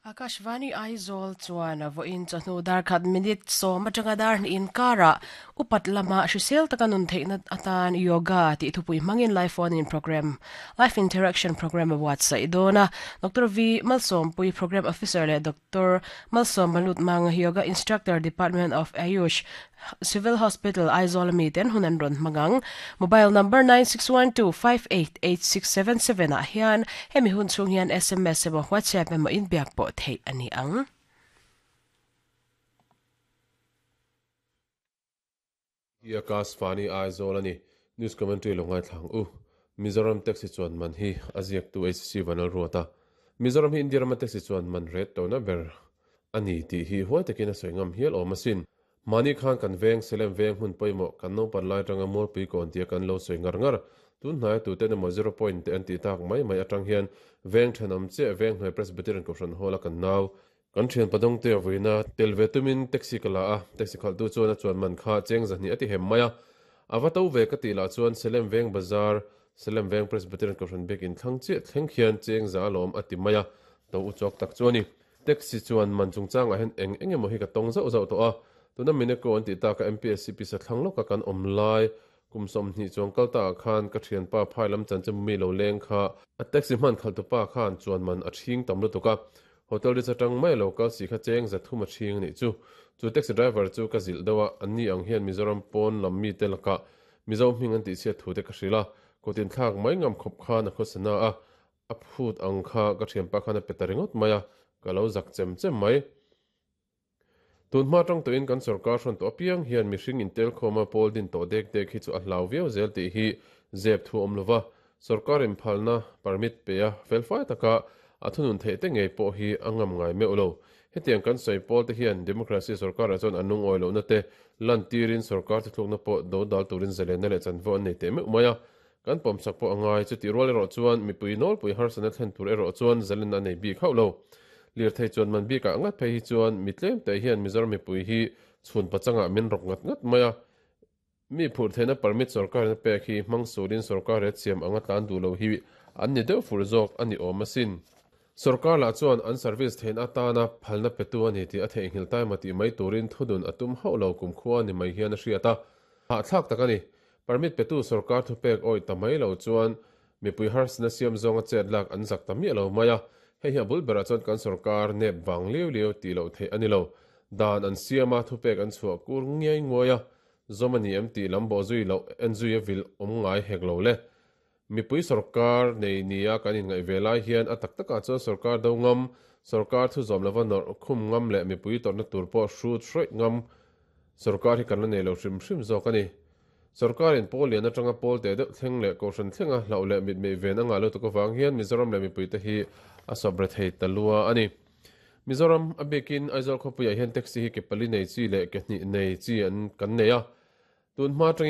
Akashvani Aizawl chuan vawiin chawhnu dar khat minute sawm atanga dar hnih inkarah upat lama hrisel taka nun theihna atan Yoga tih thupui hmangin live phone in program Life Interaction Program a buatsaih dawn a. Doctor V Malsawmpui Program Officer leh Doctor Malsawm Malutmang Yoga Instructor Department of Ayush Civil Hospital Aizawl ami ten hun an rawn hmang ang. Mobile number 9612588677 ah hian hemi hun chhung hian sms emaw WhatsApp emaw inbiak pawh theih a ni ang. Hi Akashvani Aizawl a ni. News commentary lo ngaithla ang u. Mizoram taxi chuan man hi a ziaktu HC Vanlalruat a. Mizoram hi India rama taxi chuan man ret tona ber a ni tih hi huai takin a sawi ngam hial awm asin. Mahni khan kan veng, Salem veng hmun pawimawh, kan naupan lai atanga Mualpui kawn tia kan lo sawi ngar ngar. Tun hnaia tuten emaw zero point te an tih tak mai mai atang hian veng thenawm chiah Venghnuai Presbyterian Kohhran Hall a kan nau, kan thian Padawngte a vuina tel ve tumin taxi ka la a, taxi khalhtu chuan a chuan man kha cheng zahnih a ti hem mai a. A va to ve ka tih lah chuan Salem veng bazar, Salem veng Presbyterian Kohhran biakin thlang chiah thleng khian cheng za alawm a ti mai a, to u chawk tak chu a ni. Taxi chuan man chungchangah hian eng eng emaw hi ka tawng zauh zauh tawh a, tuna Mineko an tih taka MPSC pisa thlang lawka kan awm lai kum 20 chuang kal takah khan ka thianpa phai lam chanchin mi lo leng kha a taxi hman khalhtupa khan chuan man a thing tam lutuk a, hotel ri chatang mai lo kal si kha cheng 300 a thing a nih chu. Chu taxi driver chu ka zilh deuh a, anni ang hian Mizoram pawn lam mite lakah Mizo hming an tihchhiat thu te ka hrilh a, kut inthlak mai ngam khawp khan a khawsa na a, A phut ang kha ka thianpa khan a pe ta ringawt mai a, ka lo zak chem chem mai. Tun hma tang tawhin kan sorkar hrawn tawh apiang hian mihring intelkhawma pawl din tawh dek dek hi chu a hlau viau zel tih hi zep thu awm lova, sorkar inphalna permit pe a felfai taka a thunun theih te ngei pawh hi a ngam ngai meuh lo. Hetiang kan sawi pawl te hian democracy sorkarah chuan an lungawi lohna te lantirin sorkar thuthlukna pawh dodal turin zalenna leh chanvo an nei teh meuh mai a, Kan pawmsak pawh a ngai, chutih rual erawh chuan mipui nawlpui harsatna thlen tur erawh chuan zalen a nei bik hauh lo. Lirthei chuan man bikah ngat phei hi chuan mi tlem te hian Mizoram mipui hi chhun pachangah min rawk ngat ngat mai a. Mi phurh theihna permit sorkarin a pek hi hmang surin sorkar he chiam anga tlan duh lo hi an ni deuh fur zawk a ni awm asin. Sorkar lah chuan an service theihna atana phalna petu a ni tih a theihnghilh taima tih mai turin thudun a tum hauh lo kumkhua ni mai hian a hriat a. Hahthlak tak a ni. Permit petu sorkar thupek awih ta mai lo chuan mipui harsatna siam zawnga chet lak an zak ta miah lo mai a, hei hi a bul berah chuan kan sorkar nep vang liau liau tih loh theih a ni lo. Dan an siam a, thupek an chhuah kur ngiai nguai a, zawm a ni em tih lam bawh zui loh en zui a vil awm ngai hek lo le. Mipui sorkar nei nia kan inngaih ve lai hian a tak takah chuan sorkar do ngam, sorkar thu zawm lova nawrh khum ngam leh mipui tawrhna tur pawh hrut hrawih ngam sorkar hi kan la nei lo hrim hrim zawk a ni. Sorkarin pawl lian atanga pawl teh deuh thleng leh kohhran thlenga hlauh leh mitmei ven a ngah lutuk avang hian Mizoram leh mipuite hi a sawp re thei ta lua a ni. Mizoram a bikin Aizawl khawpuiah hian taxi hi ke pali nei chi leh ke hnih nei chi an kan nei a. Tun hma atangin.